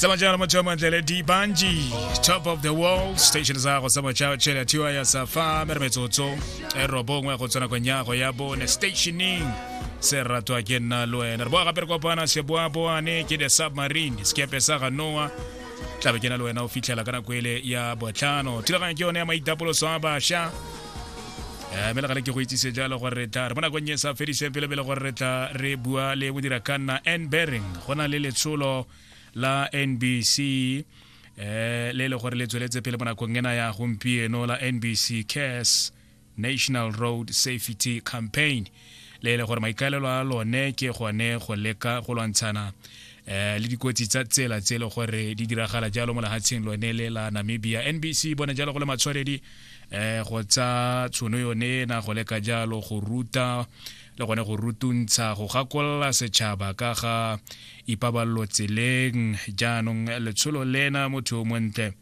Tsamaya jalo motho wa montle le Dibanji, top of the world station sa go sa motšha tšhele thiwa ya sa fa mere metsotso e robongwe go tsena kong ya go ya bone stationing se ratwa ke nna le wena. Re boa gape re kopana seboaboane ke the submarine sekepe sa ga Noah, tlabe ke na le wena o fitlhela ka nako ele ya botlhano. Thulaganyo ke yone ya maitapoloso a bašwa, mme le gale ke go itsise jalo gore re tla re mo nakong e sa fediseng pele pele gore re tla re bua le modira ka nna N Bering. Go na le letsholo la NBC le le gore le tsweletse pele mo nakong ena ya gompieno la NBC Cares National Road Safety Campaign, le le gore maikaelelo a lone ke gone go leka go lwantshana le dikotsi tsa tsela tse le gore di diragala jalo mo lehatsheng lone le la Namibia. NBC bone jalo go le matshwanedi go tsa tshono yone na go leka jalo go ruta le gone go rutuntsha, go gakolola setšhaba ka ga ipaballo tseleng. Jaanong letsholo lena, motho o montle,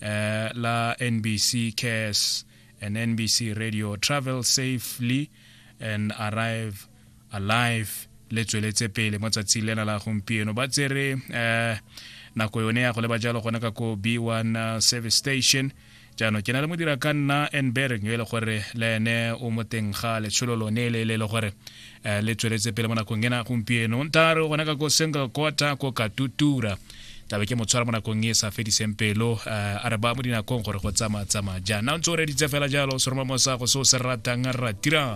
la NBC Cares and NBC Radio Travel Safely and Arrive Alive le tsweletse pele mo tsatsing lena la gompieno. Ba tsere nako yone ya go leba jalo gone ka ko B1 service station. Jaanong ke na le modira ka nna N Bering yo e le gore le ene o mo teng ga letsholo lone le le le gore le tsweletse pele mo nakong ena gompieno. Nta re gone ka ko single quarter ko Katutura, tlabe ke motshwara mo nakong e sa fediseng pelo, a re ba mo dinakong gore go tsamaya tsamaya jaana. O ntse o reditse fela jalo seroma mo sa go se o se ratang ratira.